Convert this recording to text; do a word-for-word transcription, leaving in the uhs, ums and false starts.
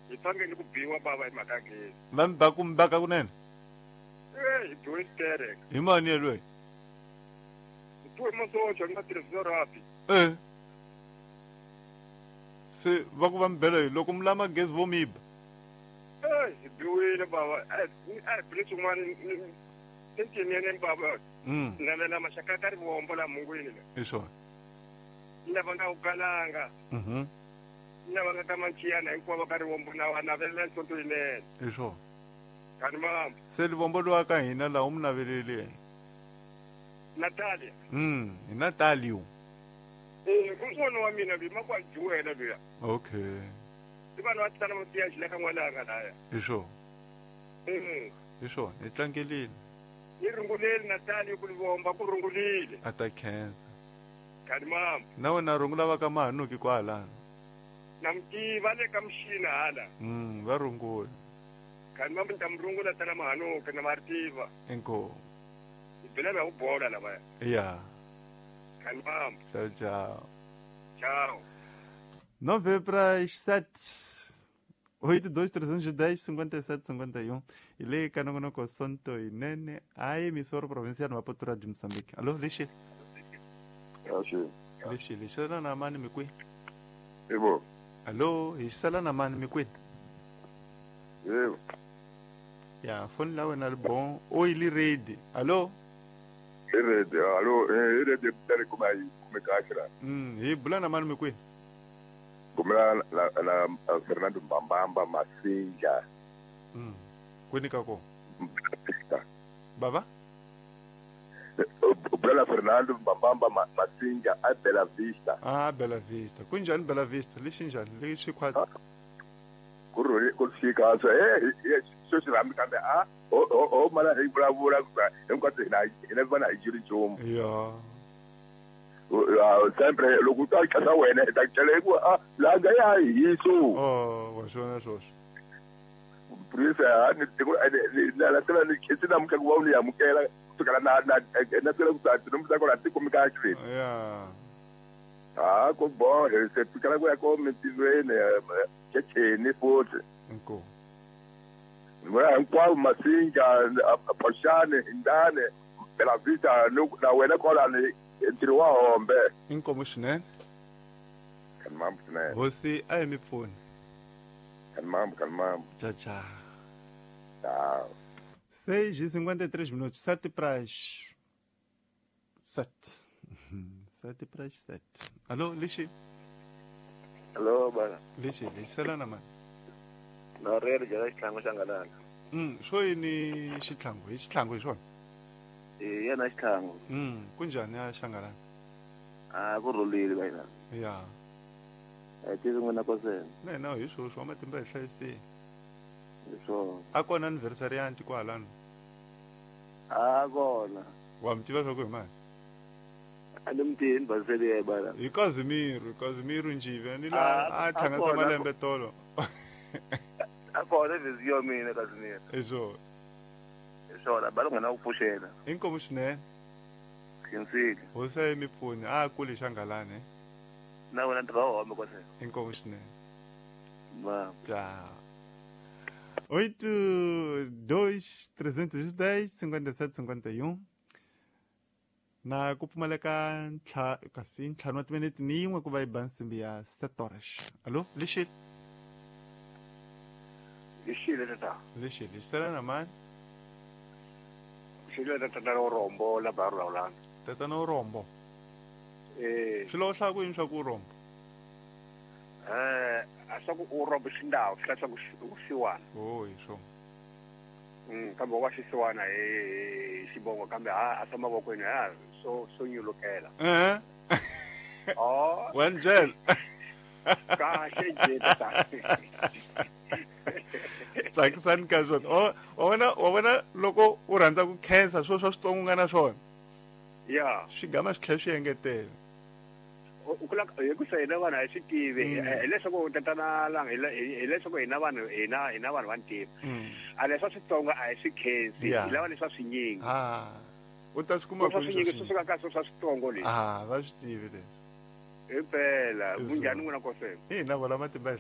Hi tshangeni ku biwa bava hi mhaka gezi. Va mi ba ku mi baka kunene? Eh, hi biwe xitereka. Hi mani yelweyo? Hi biwe masocha ni nga tirhisi rapi. Eh. Se va ku va mi bela yini loko mi lama gezi vo mi ba? Eh, hi biwile bava. Eh, eh, bile swin'wana tintinene bava. Mm. Navela maxaka ka rivombo la mungwini la. Hi swona. Lava nga ku kalanga. Mhm. Lava nga ka manchiyana hinkwavo ka rivombo na wa navelela nhlonto yinene. Hi swona. Kani mama. Se livombo lowa ka hina laha u mi naveleli yena. Natalia. Mm, hi Natalio. Eh, un'wana wa mina loyi ma ku a juwela luya. Okay. I vanhu va tala va tiya xile ka n'wananga laya. Hi swona. Eh. Hi swona, hi tlangelile. Ni runguleli Natalia ku livomba ku rungulile. A ta khensa. Kani mama. Na wena rungula va ka Mahanuki kwalano. Na mi tiva le ka mixina hala. Mm, va rungula. Kani mama ni ta mi rungula tala Mahanuki na ma ri tiva. Inkomu. Hi bela va ku bola lavaya. Ya. Kani mama. Tchau, tchau. Tchau. Nove para as sete. Oito, dois, trezentos e dez, cinquenta e sete, cinquenta e um. E le kanongonoko Sonto Inene, a emissora provincial Maputo de Moçambique. Alô, Lixi? Lixi. Lixi, Lixi, na mani mikwi. Yebo. Alô, Lixi, na mani mikwi. Yebo. Ya, fone la wena li bon. Oi, li ready. Alô? Li ready. Alô, li ready tare kuma kuma kahle. Mm, hi bula na mani mikwi. Kumela la la Fernando Mbambamba Masinja. Mm. Kwini ka ko? Baba? Bula Fernando Mbambamba Masinja a Bela Vista. Ah, Bela Vista. Kunjani Bela Vista? Lexi njhani? Lexi khwatsi. Ku rhuli ku fika so eh so xi rhambi kambe a o o mala hi vulavula hinkwaswo hina hina vana hi jiri nchumu. Ya. Sempre loko u ta kasa wena hi ta byela ku a langa ya hiso. Oh, wa swona swoswo. Prisa ni tiko ni la tela ni khisi na mukha ku va u ni amukela kusukela na na na tela ku ta ni mutsa kona tiko mika xi. Ya. Ah, ko bo se fikela ku ya ko mitilweni checheni futhi. Inkomu. Ngora hinkwavo Masinja, Phoxane, Hindane, Bela Vista na wena kwalani ntirho wa hombe. Inkomu swinene. Kani mambo swinene. Hosi a hi mi pfuni. Kani mambo, kani mambo. Tchau, tchau. Tchau. seis e cinquenta e três minutos, sete para as sete. Sete para as sete. Alô, Lixi? Alô, bana. Lixi, Lixi, salana mani. Na rero jala xihlangu xa ngalana. Mm, swo yini xihlangu? Hi xihlangu hi swona? Eh, yena xihlangu. Mm, kunjhani ya xangalana? Ah, ku rhulile ka hina. Ya. Eh, tivi n'wina kosena. Na hina hi swoswo wa matimba hi hlayisile. Hi swona. A kona anniversary ya anti kwalano? A kona. Wa mi tiva swa ku hi mani? A ni mi tivi ni basele ya bana. Hi Casimiro, Casimiro Njive, ni la a hlanganisa malembe tolo. A kona vhesi ya mina Casimiro. Hi swona. Hi swona, ba nghena ku pfuxela. Inkomu swinene. Khinsile. Hosi a yi mi pfuni, a kuli xangalani. Na wena ntirho wa home kosena. Inkomu swinene. Ma. Tchau. Oito, dois, trezentos e dez, cinquenta e sete, cinquenta e um. Na ku pfumaleka ntlha kasi ntlhanu wa timinete ni yin'we ku va yi ba nsimbi ya sete horas. Alô, Lixi? Lixile tata. Lixi, lixi sala na mani? Xile tatana Urombo la Barulana. Tatana Urombo. Eh. Swi lo hlaya ku yini swa ku Urombo? Eh, a swa ku Urombo xindawu swi swa ku xisiwana. Oh, hi swona. Mm, kambe wa xisiwana hi xibongo kambe a a swa mavokweni ha so so nyulukela. Eh. Oh. Wanjel. Kahle nje tata. Tsakisani ka swona. O wa vona wa vona loko u rhandza ku khensa swo swa switsongo nga na swona. Ya. Swi gama swi tlhela swi engetela. U kula hi ku se hina vanhu a hi swi tivi hileswaku tatana langa hileswaku hina vanhu hina hina vanhu va ntima. A leswa switsongo a hi swi khensi, hi lava leswa swinyingi. Ah. U ta swi kuma ku swinyingi swi suka ka swo swa switsongo leswi. Ah, va swi tivi leswi. Impela, kunjhani n'wina kosena? Hina vola matimba hi